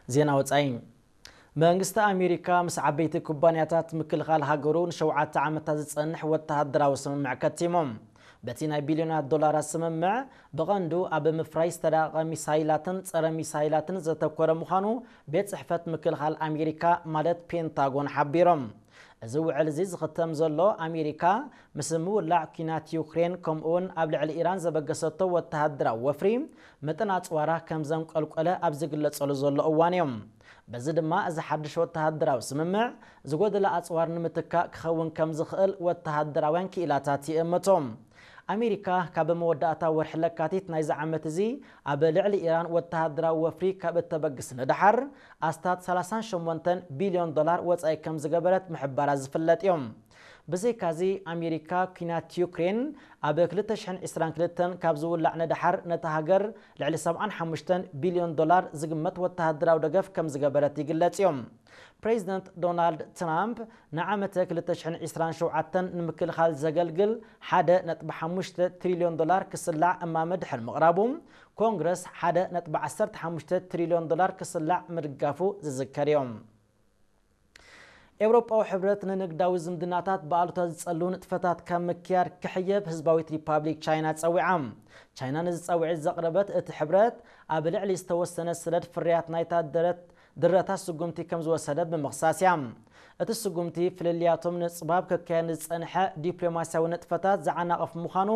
ዜና ወጻኢ። መንግስቲ ኣሜሪካ ምስ ዓበይቲ ኩባንያታት ምክልኻል ሃገሩ ንሸውዓተ ዓመታት ዝጸንሕ ወተሃደራዊ ስምምዕ ከቲሞም። በቲ ናይ ቢልዮናት ዶላራት ስምምዕ፣ ብቐንዱ ኣብ ምፍራይ ዝተዳቐ ሚሳይላትን ጸረ ሚሳይላትን ዘተኮረ ምዃኑ ቤት ጽሕፈት ምክልኻል ኣሜሪካ፣ ማለት ፔንታጎን፣ ሓቢሮም። እዚ ውዕል እዚ ዝኽተም ዘሎ፣ ኣሜሪካ ምስ ምውላዕ ኲናት ዩክሬን፣ ከምኡውን ኣብ ልዕሊ ኢራን ዘበገሰቶ ወተሃደራዊ ወፍሪ፣ መጠን ኣጽዋራ ከም ዘንቆልቆለ ኣብ ዝግለጸሉ ዘሎ እዋን እዮም። በዚ ድማ፣ እዚ ሓድሽ ወተሃደራዊ ስምምዕ፣ ዝጎደለ ኣጽዋር ንምትካእ ክኸውን ከም ዝኽእል ወተሃደራውያን ክኢላታት ይእምቱ። ኣሜሪካ፣ ካብ መወዳእታ ወርሒ ለካቲት ናይዚ ዓመት እዚ፣ ኣብ ልዕሊ ኢራን ወተሃደራዊ ወፍሪ ካብ እተበግስ ንደሓር፣ ኣስታት ሰላሳን ሸሞንተን ቢልዮን ዶላር ወጻኢ ከም ዝገበረት ምሕባራ ዝፍለጥ እዮም። ብዘይካዚ፣ ኣሜሪካ፣ ኲናት ዩክሬን ኣብ ክልተ ሽሕን ዕስራን ክልተን ካብ ዝውላዕ ንደሓር፣ ነታ ሃገር ልዕሊ ሰብዓን ሓሙሽተን ቢልዮን ዶላር ዝግመት ወተሃደራዊ ደገፍ ከም ዝገበረት ይግለጽ እዮም። ፕሬዚደንት ዶናልድ ትራምፕ፣ ንዓመተ ክልተ ሽሕን ዕስራን ሸውዓተን ንምክልኻል ዘገልግል ሓደ ነጥቢ ሓሙሽተ ትሪልዮን ዶላር ክስላዕ እማመ ድሕሪ ምቕራቡ፣ ኮንግረስ ሓደ ነጥቢ ዓሰርተ ሓሙሽተ ትሪልዮን ዶላር ክስላዕ ምድጋፉ ዝዝከር እዮም። ኤውሮጳዊ ሕብረት ንንግዳዊ ዝምድናታት ብኣሉታ ዝጸሉ ንጥፈታት ካብ ምክያድ ክሕየብ ህዝባዊት ሪፓብሊክ ቻይና ጸዊዓ። ቻይና ነዚ ጻውዒት ዘቕረበት፣ እቲ ሕብረት ኣብ ልዕሊ ዝተወሰነ ሰደድ ፍርያት ናይታ ድረት ድረታት ስጉምቲ ከም ዝወሰደ ብምኽሳስ እያ። እቲ ስጉምቲ፣ ፍልልያቶም ንጽባብ ከካየድ ዝጸንሐ ዲፕሎማስያዊ ንጥፈታት ዝዓናቕፍ ምዃኑ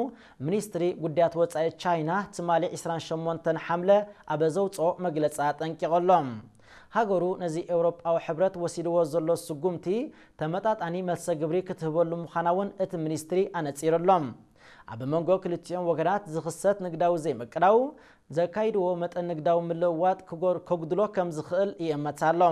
ሚኒስትሪ ጉዳያት ወጻኢ ቻይና ትማሊ ዕስራን ሸሞንተን ሓምለ ኣብ ዘውጽኦ መግለጺ ኣጠንቂቑ ኣሎ። ሃገሩ ነዚ ኤውሮጳዊ ሕብረት ወሲድዎ ዘሎ ስጉምቲ፣ ተመጣጣኒ መልሰ ግብሪ ክትህበሉ ምዃና እውን እቲ ሚኒስትሪ ኣነጺሩ ኣሎ። ኣብ መንጎ ክልቲኦም ወገናት ዝኽሰት ንግዳዊ ዘይምቅዳው፣ ዘካይድዎ መጠን ንግዳዊ ምልውዋጥ ክጎር-፣ ከጉድሎ ከም ዝኽእል ይእመት ኣሎ።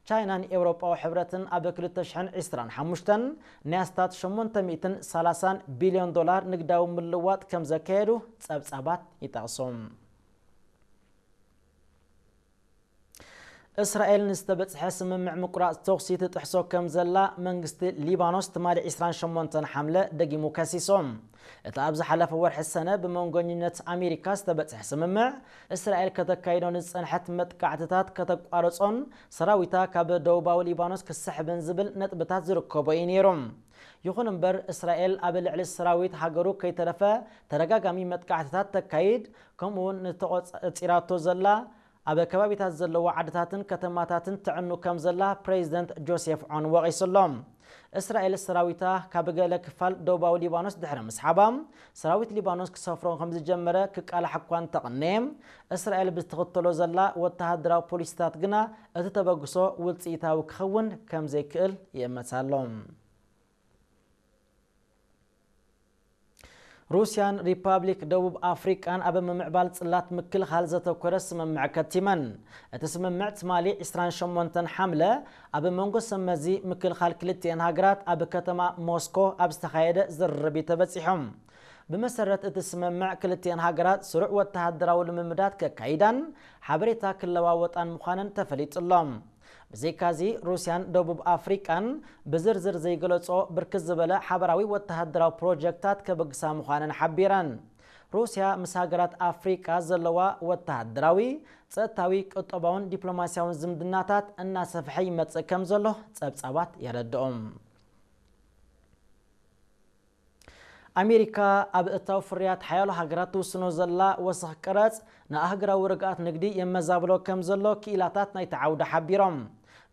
ቻይናን ኤውሮጳዊ ሕብረትን ኣብ ክልተ ሽሕን ዕስራን ሓሙሽተን ናይ ኣስታት ሸሞንተ ሚእትን ሰላሳን ቢልዮን ዶላር ንግዳዊ ምልውዋጥ ከም ዘካየዱ ጸብጻባት ይጠቕሱ። እስራኤል ንዝተበጽሐ ስምምዕ ምቁራጽ ተኹሲ ትጥሕሶ ከም ዘላ መንግስቲ ሊባኖስ ትማሊ ዕስራን ሸሞንተን ሓምለ ደጊሙ ከሲሶ። እቲ ኣብ ዝሓለፈ ወርሒ ሰነ ብመንጎኝነት ኣሜሪካ ዝተበጽሐ ስምምዕ፣ እስራኤል ከተካይዶ ንዝጸንሐት መጥቃዕትታት ከተቋርጾን ሰራዊታ ካብ ደቡባዊ ሊባኖስ ክስሕብን ዝብል ነጥብታት ዝርከቦ እዩ ነይሩ። ይኹን እምበር፣ እስራኤል ኣብ ልዕሊ ሰራዊት ሃገሩ ከይተረፈ ተደጋጋሚ መጥቃዕትታት ተካይድ፣ ከምኡውን ንተቖጻጺራቶ ዘላ ኣብ ከባቢታት ዘለዋ ዓድታትን ከተማታትን ተዕኑ ከም ዘላ ፕሬዚደንት ጆሴፍ ዖን ወቒሱ ኣሎ። እስራኤል ሰራዊታ ካብ ገለ ክፋል ደቡባዊ ሊባኖስ ድሕሪ ምስሓባ፣ ሰራዊት ሊባኖስ ክሰፍሮ ከም ዝጀመረ ክቃላሕ እኳ እንተቐነየ፣ እስራኤል ብትኽተሎ ዘላ ወተሃደራዊ ፖሊሲታት ግና፣ እቲ ተበግሶ ውጽኢታዊ ክኸውን ከም ዘይክእል ይእመት ኣሎ። ሩስያን ሪፓብሊክ ደቡብ ኣፍሪቃን ኣብ ምምዕባል ጽላት ምክልኻል ዘተኮረ ስምምዕ ከቲመን። እቲ ስምምዕ ትማሊ ዕስራን ሸሞንተን ሓምለ ኣብ መንጎ ሰመዚ ምክልኻል ክልቲኤን ሃገራት ኣብ ከተማ ሞስኮ ኣብ ዝተኻየደ ዝርርብ እዩ ተበጺሖም። ብመሰረት እቲ ስምምዕ፣ ክልቲኤን ሃገራት ስሩዕ ወተሃደራዊ ልምምዳት ከካይዳን ሓበሬታ ክለዋወጣን ምዃነን ተፈሊጡ ኣሎ። ብዘይካዚ፣ ሩስያን ደቡብ ኣፍሪቃን ብዝርዝር ዘይገለጾ ብርክት ዝበለ ሓበራዊ ወተሃደራዊ ፕሮጀክታት ከበግሳ ምዃነን ሓቢረን። ሩስያ ምስ ሃገራት ኣፍሪቃ ዘለዋ ወተሃደራዊ፣ ጸጥታዊ፣ ቁጠባውን ዲፕሎማስያውን ዝምድናታት እናሰፍሐ ይመጽእ ከም ዘሎ ጸብጻባት የረድኦም። ኣሜሪካ ኣብ እታው ፍርያት ሓያሎ ሃገራት ትውስኖ ዘላ ወሰኽ ቀረጽ ንኣህጉራዊ ርግኣት ንግዲ የመዛብሎ ከም ዘሎ ክኢላታት ናይቲ ዓውዲ ሓቢሮም።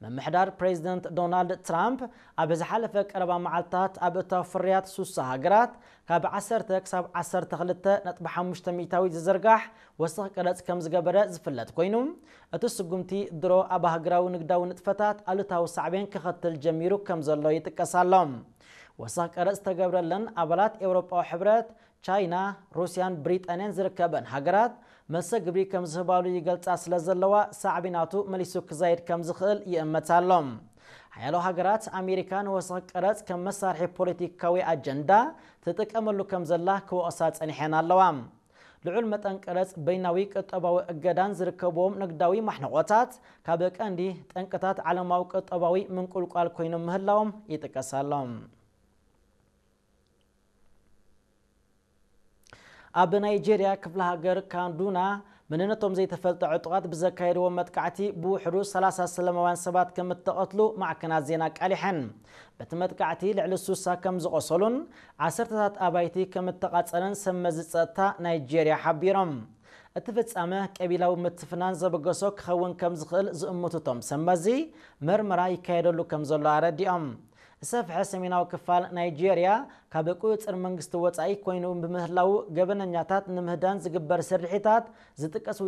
ምምሕዳር ፕሬዚደንት ዶናልድ ትራምፕ ኣብ ዝሓለፈ ቀረባ መዓልታት ኣብ እታው ፍርያት ሱሳ ሃገራት ካብ ዓሰርተ ክሳብ ዓሰርተ ክልተ ነጥቢ ሓሙሽተ ሚእታዊት ዝዝርጋሕ ወሰኽ ቀረጽ ከም ዝገበረ ዝፍለጥ ኮይኑ፣ እቲ ስጉምቲ ድሮ ኣብ ሃገራዊ ንግዳዊ ንጥፈታት ኣሉታዊ ሳዕቤን ከኸትል ጀሚሩ ከም ዘሎ ይጥቀስ ኣሎ። ወሰኽ ቀረጽ ዝተገብረለን ኣባላት ኤውሮጳዊ ሕብረት፣ ቻይና፣ ሩስያን ብሪጣንያን ዝርከበን ሃገራት፣ መልሰ ግብሪ ከም ዝህባሉ ይገልጻ ስለ ዘለዋ፣ ሳዕቤን ናቱ መሊሱ ክዛይድ ከም ዝኽእል ይእመት ኣሎ። ሓያሎ ሃገራት፣ ኣሜሪካ ንወሰኽ ቀረጽ ከም መሳርሒ ፖለቲካዊ ኣጀንዳ ትጥቀመሉ ከም ዘላ ክወቕሳ ጸኒሐን ኣለዋ። ልዑል መጠን ቀረጽ፣ በይናዊ ቁጠባዊ እገዳን ዝርከብዎም ንግዳዊ ማሕንቖታት፣ ካብ ቀንዲ ጠንቅታት ዓለማዊ ቁጠባዊ ምንቁልቋል ኮይኖም ምህላዎም ይጥቀስ ኣሎ። ኣብ ናይጄርያ ክፍለ ሃገር ካዱና መንነቶም ዘይተፈልጠ ዕጡቓት ብዘካየድዎ መጥቃዕቲ ብውሕዱ ሰላሳ ሰላማውያን ሰባት ከም እተቐትሉ ማዕከናት ዜና ኣቃሊሐን። በቲ መጥቃዕቲ ልዕሊ ሱሳ ከም ዝቖሰሉን ዓሰርተታት ኣባይቲ ከም እተቓጸለን ሰብ መዚ ጸጥታ ናይጄርያ ሓቢሮም። እቲ ፍጻመ ቀቢላዊ ምትፍናን ዘበገሶ ክኸውን ከም ዝኽእል ዝእምቱ እቶም ሰብ መዚ፣ መርመራ ይካየደሉ ከም ዘሎ ኣረዲኦም። ዝሰፍሐ ሰሜናዊ ክፋል ናይጄርያ ካብ ቁጽጽር መንግስቲ ወጻኢ ኮይኑ ብምህላው፣ ገበነኛታት ንምህዳን ዝግበር ስርሒታት ዝጥቀስ